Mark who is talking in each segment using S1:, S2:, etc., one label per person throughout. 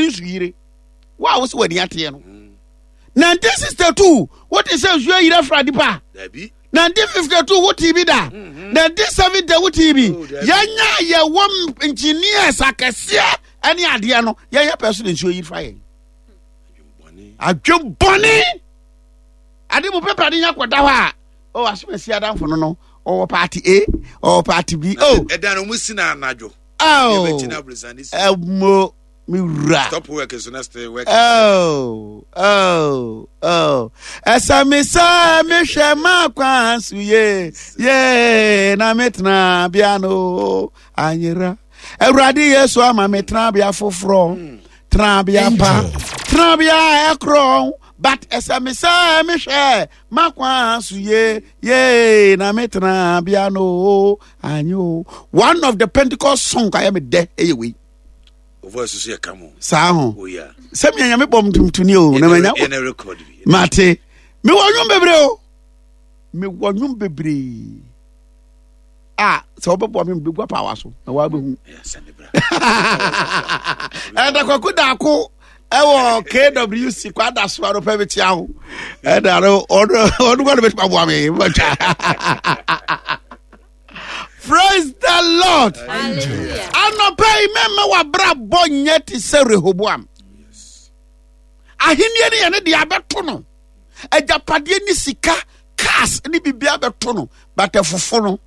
S1: ne nsuyire. Wo a wo sɛ w'ani ateɛ no. 1962 wote sɛ nsuo ayiri afra nipa. 1952 wote bi da. 1970 mhm. wote bi. Oh, Yɛnya yɛwɔ engineers akɛseɛ ɛne adeɛ no yɛyɛ pɛ so na nsuo yiri fa yɛn. Adwembɔne. Ade mu pɛpɛ ade nya kɔda hɔ a. Oh, asomasi adamfo no no ɔwɔ party A ɔwɔ party B. Oh,
S2: ɛdan no wɔn si na anadwo.
S1: Oh, ɛmo me wura.
S2: Stop work so na stay work.
S1: Oh, oh, oh. Ɛsɛ me sɛ mehwɛ ma kwan so ye ye na metena bea no anyera. Awurade Yesu ama me tenabea foforɔ. Hmm. Tenabea pa. Tenabea ɛkorɔn. But ɛsɛ me sɛ mehwɛ ma kwan so ye ye na me tenabea no anyo. One of the Pentecost song ayɛ me dɛ ɛyɛ wei.
S2: O voice so yɛ kamo.
S1: Saa ho.
S2: Oh yeah.
S1: Sɛ mi nyame bɔ mtumtuni o na manya.
S2: Yɛ na record bi.
S1: Mate. Me wɔ nwom bebree o. Me wɔ nwom bebree. A sɛ wobɛboa me mebɛgu apaawa so na woabɛhu. Ɛda kwaku daako ɛwɔ KWC kwada so ano pɛ mekyia wo. Ɛda no ɔno ɔno kɔ no bɛtumi aboa me. Mɛtwa. Praise the Lord. Anɔpa yi mɛma w'abrabɔ nyɛ te sɛ Rehoboam. Ahenni no yɛ ne deɛ abɛto no. Agyapadeɛ ne sika, cars ne biribi abɛto no. But ɛfofo no.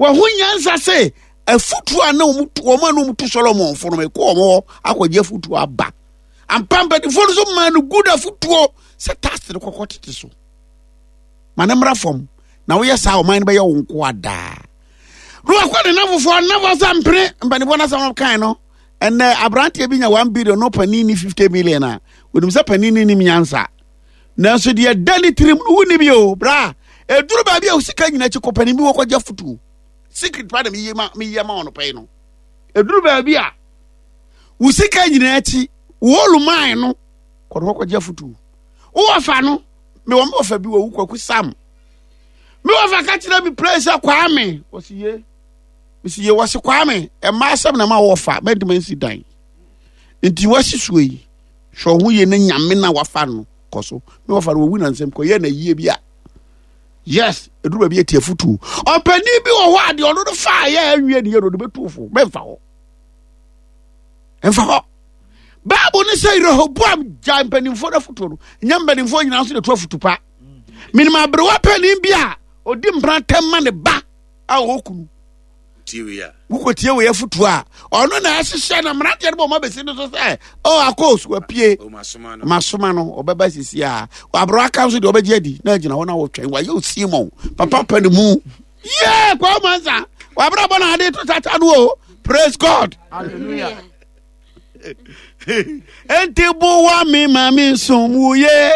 S1: Wɔho nyansa sɛ afutuo a na wɔn a na wɔn tu Solomon fo no mekɔ wɔn hɔ akɔgye afutuo aba. Ampa mpanimfoɔ no nso maa no good afutuo sɛ tax no kɔkɔ tete so. Ma ne mmra fam. Na woyɛ saa ɔman no bɛyɛ wo nkoa daa. Na wakɔ ne nafofoɔ nnafo sɛ mpene mpanimfoɔ no asɛm kan no. Ɛnɛ aberanteɛ bi nya 1 billion no panin ni 50 million a onim sɛ panin no nim nyansa. Nanso deɛ ɛda ne tirim no wonni bi o bra. Ɛduru baabi a sika nyina akyi kɔ panin bi wɔkɔgye afotuo. Secret pa na meyɛ ma meyɛ ma ɔno pɛi no. Ɛduru baabi a wo sika nyina akyi wɔluman no kɔ no wɔkɔgye afotuo. Wowɔ fa no mewɔ me wɔfa bi wɔ wo kwaku sam me wɔfa ka kyerɛ me play sɛ kwame wɔsi ye mesi ye wɔsi kwame ɛma asɛm na ma wɔfa mɛntoma nsi dan nti wɔsi suo yi hwɛ ɔho yie ne nyame na wafa no kɔ so me wɔfa no wɔwu na nsɛm kɔ yɛ na yie bi a yes ɛduru baabi ati afutuo ɔpanin bi wɔ hɔ a deɛ ɔno no faa yɛ awie ne yɛ no ɔde bɛtu fo mɛmfa hɔ mfa hɔ Bible no sɛ Rehoboam gyae mpanimfoɔ no afotuo no, nyɛ mpanimfoɔ nyinaa nso na ɛtu afotu pa. Menim aberewa panin bi a ɔdi mpena tɛm ma ne ba a ɔwɔ kunu. Wokɔtie wei afotuo a ɔno na ɛhyehyɛ na mmeranteɛ no bɔ ɔma bɛsi no so sɛ o oh, akos wapue masoma no ɔbɛba sisi a aberewa ka nso deɛ ɔbɛgye adi na agyina hɔ na wɔtwɛn wayɛ osimon papa pa ne mu yɛ kwaa mansa wabrabɔ na ade to tata no o praise god
S3: hallelujah
S1: Enti boa me ma me nsom wo ye.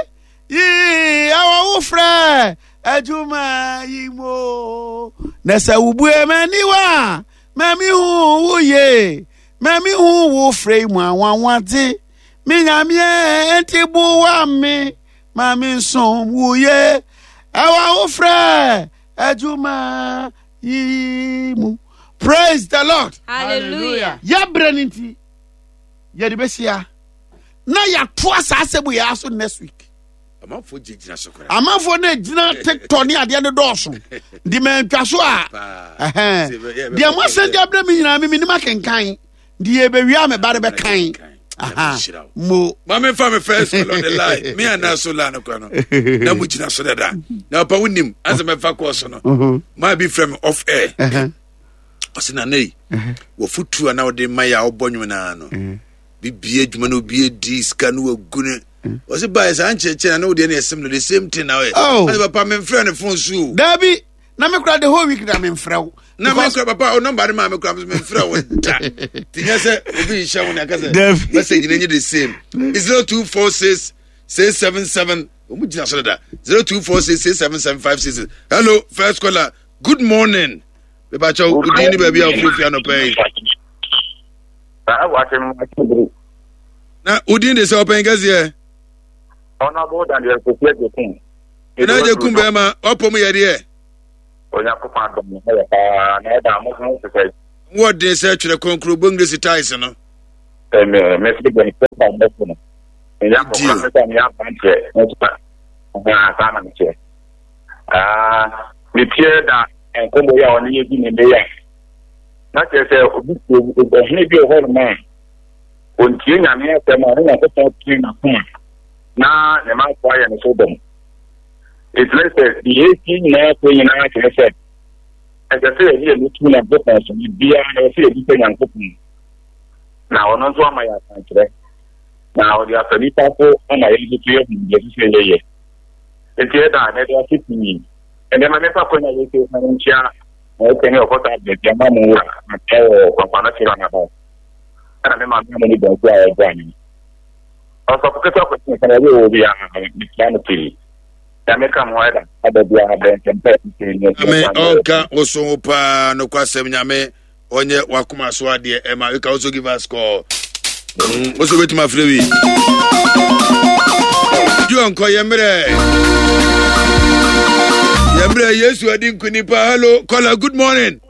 S1: Yii, ɛwɔ wo frɛ adwuma yi mu. Na sɛ wobue m'aniwa a, ma me hu wo ye. Ma me hu wo frɛ yi mu anwanwadze. Me nyameɛ, enti boa me ma me nsom wo ye. Ɛwɔ wo frɛ adwuma yi mu. Praise the Lord.
S3: Hallelujah.
S1: Yɛbrɛ no nti yɛde bɛhyia na yɛatoa saa asɛm yɛ aso next week.
S2: Amanfoɔ gyinagyina so koraa.
S1: Amanfoɔ no gyina TikTok ne adeɛ no dɔɔso. Nti mantwa so a deɛ moasɛn de abrɛ me nyinaa me menim akenkan. Nti yɛbɛwie a me ba no bɛkan. Mo.
S2: Maame nfa mi first call on the line. Mi ana so line no kora no. Na mo gyina so dada. Na papa wo nim asɛ mɛfa kɔɔ so no. Mm-hmm. Maa bi frɛ mi off air. Uh-huh. Ɔsi na nei. Uh-huh. Wɔfutu a na ɔde ma yɛ a ɔbɔ nwom naa no. Uh-huh. Bibie adwuma na obi edi sika no wagu ne. Ɔsi ba yɛ saa nkyerɛkyerɛ na ne wo deɛ no yɛ similar the same thing na ɔyɛ.
S1: Oh.
S2: Ɔsi papa mi nfrɛ ne phone so o.
S1: Dabi. Na me kura the whole week na me nfrɛ wo.
S2: Na me kura papa o number ne maa me kura me nfrɛ wo da. Ti nyɛ sɛ obi nhyɛ wo na ɛka sɛ message ne nye the same. 0246 677 wɔn gyina so dada 0246 677 566. Hello first caller good morning. Mepakyɛw wo din ne baabi a wofiri fi anɔpa yi. Na wo din de sɛ ɔpɛn kɛseɛ.
S4: Honorable Daniel Kofi Agyekum.
S2: Ɛna Agyekum bɛrima wapɔ mu yɛ deɛ.
S4: Onyankopɔn adom ne ho yɛ paa na ɛda mo ho te sɛ.
S2: Wɔ den sɛ twerɛ kronkron bɔ English ties no.
S4: Mɛfiri bɔ ne pɛpa mbɛfo no. Meyɛ akɔkora me sɛ meyɛ aberanteɛ nso a saa na meteɛ. Meteɛ da nkɔmmɔ yi a ɔne yɛ di ne nnɛ yi a na kyerɛ sɛ obi ɔhene bi wɔ hɔ nom a ɔntie Nyame asɛm a ne Nyankopɔn tee n'akoma na ne manfoɔ ayɛ no so dɔm. Ɛkyerɛ sɛ deɛ ɛsi nyinaa kɔ nyinaa kyerɛ sɛ ɛsɛ sɛ yɛde yɛn tu Nyankopɔn so biribiara na ɛsɛ sɛ yɛbisa Nyankopɔn na ɔno nso ama yɛ akwankyerɛ na ɔde afa nipa so ama yɛn nso so yɛhu deɛ ɛsɛ sɛ yɛyɛ. Nti ɛda a na ɛde ase pii. Ɛnɛ ma mefa kwan a yɛsɛ na nkyia na ɛsɛ ne ɔkɔta abɛdi ama mo wura na ɛwɔ papa no kyerɛ anaba ɛna me maame ama ne bɔnso a ɔboa me. Ɔsɔfo ketewa kɔsi nsa na ɔyɛ wɔ bi a mekyia no pii. Nyame ka mo ho ɛda ada biara bɛn sɛ mpɛ
S2: Nyame ɔnka wo so ho paa nokwasɛm Nyame ɔnyɛ wakoma so adeɛ ɛma you can also give us call wo so wobɛtumi afrɛ wi di ɔnkɔ yɛ mmerɛ yɛ mmerɛ Yesu adi nkuni paa. Hello caller, good morning.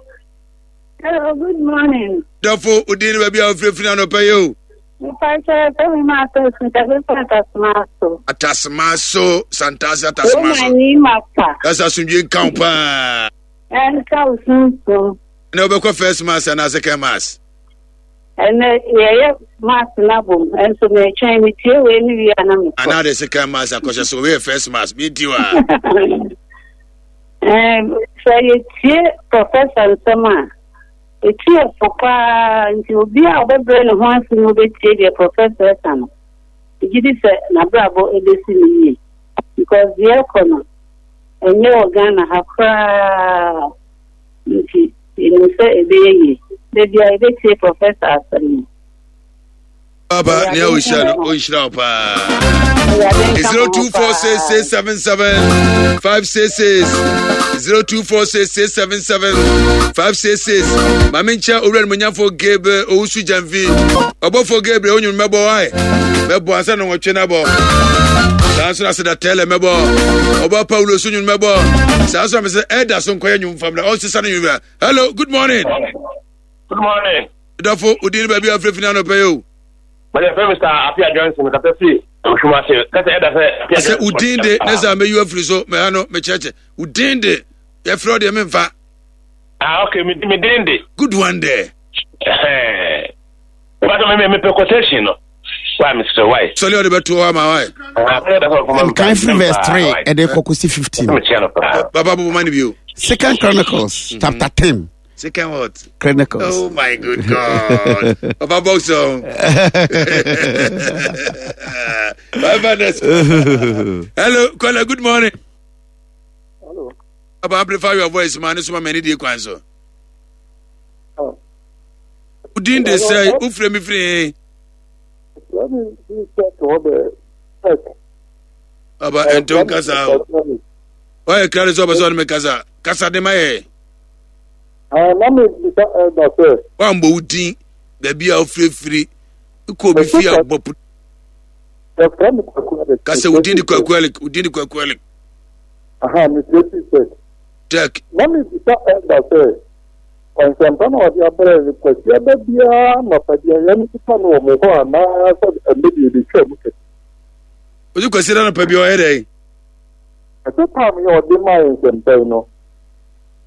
S3: Hello, good morning.
S2: Dɔfo, wodin ne baabi a wofirafiri anɔpɛ yi o.
S3: Mpakyɛ sɛ me ma atɛsi kɛse sɛ atasema so.
S2: Atasema so, Santase atasema so.
S3: Woma ni mapa.
S2: Ɛsɛ asomdwe nka wo paa.
S3: Ɛnka wo sunsum.
S2: Ɛnɛ wobɛkɔ first mass anaa second mass?
S3: Ɛnɛ yɛyɛ mass no abom, ɛnso metwɛn metie wei ne wie a na mekɔ.
S2: Anaa de second mass akɔhyɛ so, wei yɛ first mass, bi wa.
S3: Sɛ yɛtie professor nsɛm a, ɛtu yɛ fo paa, nti obi a ɔbɛbrɛ ne ho ase na ɔbɛtie deɛ professor ɛka no, megye di sɛ n'abrabɔ ɛbɛsi no yie. Because deɛ ɛkɔ no, ɛnyɛ wɔ Ghana ha koraa, nti yɛnim sɛ ɛbɛyɛ yie. Da biara yɛbɛtie professor asɛm no.
S2: Papa, nea ɔhyira no, ɔnhyira wo paa. 0246677566 0246677566 Maame nkyɛ owura no munyafo Gabriel Owusu Gyamfi. Ɔbɔfo Gabriel onwom mɛbɔ wae. Mɛbɔ ansa na wɔtwe no abɔ. Saa nso na seda tɛlɛ mɛbɔ. Ɔbɔ Paulo so nwom mɛbɔ. Saa nso na mesɛ ɛda so nkɔyɛ nwom fam na ɔnsesa no nwom. Hello, good morning.
S4: Good morning.
S2: Dɔfo, wo din ne baabi a wofirafiri anɔpa yi o.
S4: Mede fɛ Mr. Apia Johnson kasa fi Ohwim ase. Kasa ɛda sɛ Apia
S2: Johnson. Sɛ wo din de ne sɛ meyi afiri so mɛha no mekyerɛkyerɛ. Wo din de yɛfrɛ wo deɛ memfa.
S4: Ah okay, me me din de.
S2: Good one there.
S4: Ɛhɛn. Wọ́n mi mi pɛ quotation no. Why Mr. Why?
S2: Sọlí ọdẹ bẹ tó ọ ama why.
S1: Nkan firi verse 3 ɛde kɔ kɔsi 15.
S2: Baba bɔbɔ ma ni bi o.
S1: Second Chronicles chapter 10.
S2: Second what?
S1: Chronicles.
S2: Oh my good God. Papa Boxer. Bye bye. Hello, caller. Good morning.
S5: Hello.
S2: Papa, amplify your voice, man. This man, many kwan so.
S5: Oh.
S2: Udin de say, ufre mi free.
S5: Let me check all the check.
S2: Papa, ento kasa. Why cry so so me kasa? Kasa de my.
S5: Ah, na me bisa elder sɛ.
S2: Wambɔ wo din baabi a wofirifiri kɔ obi fie a bɔ.
S5: Yɛfrɛ me Kwaku Alex.
S2: Kasa wo din de Kwaku Alex, wo din de Kwaku Alex.
S5: Aha, me fie fi Tech.
S2: Tech.
S5: Na me bisa elder sɛ, nsɛmpa na ɔde abrɛ no Kwasiada biara anɔpa bi a yɛn nso no wɔ mo hɔ anaa sɛ ɛnɛ deɛ ɛbɛtwa mu kɛkɛ.
S2: Osi Kwasiada anɔpa bi ɔyɛ dɛn?
S5: Ɛsɛ tam yɛ ɔde maa yɛn nsɛmpa yi no.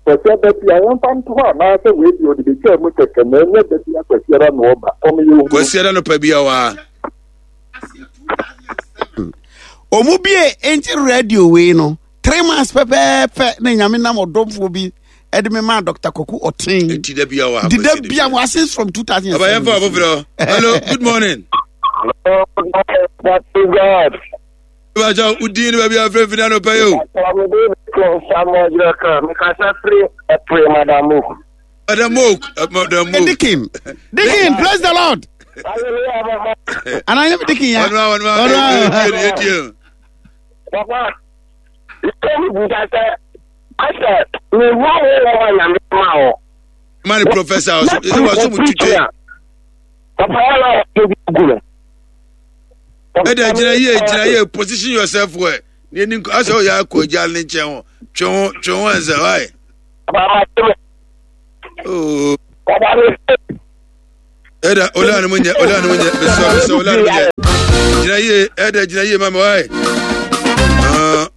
S5: Kwasiada bi a yɛmfa nto hɔ anaasɛ wei deɛ ɔde bɛtwaa mu kɛkɛ na ɛnyɛ da bi a Kwasiada na ɔba ɔmo yɛ ohunu.
S2: Kwasiada no pa bi a waa.
S1: Ɔmo bie enti radio wei no 3 months pɛpɛɛpɛ na Nyame nam ɔdɔmfoɔ bi ɛde me maa Dr. Kwaku Ɔten.
S2: Enti da bi a waa.
S1: Di da bi a waa since from 2007.
S2: Aba yɛmfa ɔfoforɔ. Hello, good morning.
S4: Hello, good God.
S2: Bàjẹ́ wo din ní baabi a fẹ́ fi náà pẹ́ yìí o.
S4: Madam Oak.
S2: Madam Oak, Madam Oak.
S1: Dikin, Dikin, praise the Lord. Anaa yɛ Dikin ya.
S2: Ọ̀nù àwọn ọ̀nù àwọn ẹ̀dí ẹ̀.
S4: Papa, ìkọ́ mi bùsà sẹ́, asẹ̀ mi wá wọ́n wọ́n nyàmé máa wọ̀.
S2: Ma ni professor ọ̀sùn, ẹ̀ wọ́n sọ mu tutù.
S4: Papa, wọ́n náà wọ́n ti gu no.
S2: Ɛda gyina yie, gyina yie, position yourself well. Ní ẹni asɛ ɔyɛ akɔ agya ne nkyɛn ho, twe ho, twe ho ɛnsɛ, why? Oh. Ɛda ola ne mu nyɛ ola ne mu nyɛ mesɔ mesɔ ola ne mu nyɛ. Gyina yie ɛda gyina yie mama wae.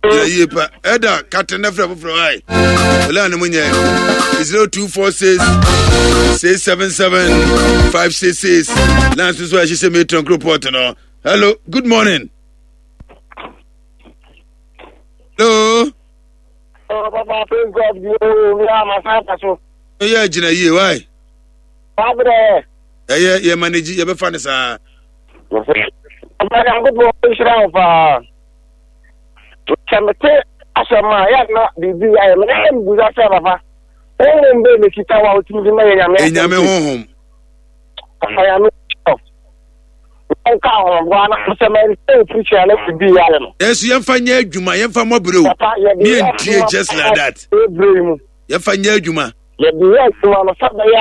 S2: Gyina yie pa ɛda kate ne frɛ foforɔ wae. Ola ne mu nyɛ 0246 677 566 lines nso a ɛhyehyɛ metron kuro no. Hello, good morning. Hello.
S6: Oh, Papa, praise God. You, we are my son.
S2: Yɛ gyina yie wae.
S6: Wabrɛ.
S2: Ɛyɛ yɛ manage yɛbɛfa no saa.
S6: Ɔba Nyankopɔn nhyira wo paa. Sɛ mete asɛm a yɛ na biribi ayɛ me na yɛ mbusa sɛ papa honhom bɛɛ na kita wo a wotumi de ma yɛ nyame asɛm.
S2: Nyame honhom.
S6: Papa nyame nka ahoboa na sɛ mɛnte wo preaching a na biribi ayɛ no.
S2: Nanso yɛmfa nyɛ adwuma yɛmfa mmɔbrɛ o.
S6: Papa yɛde
S2: yɛ adwuma just like that.
S6: Ɛbrɛ mu.
S2: Yɛmfa nyɛ adwuma.
S6: Yɛde yɛ adwuma no sɛ bɛyɛ.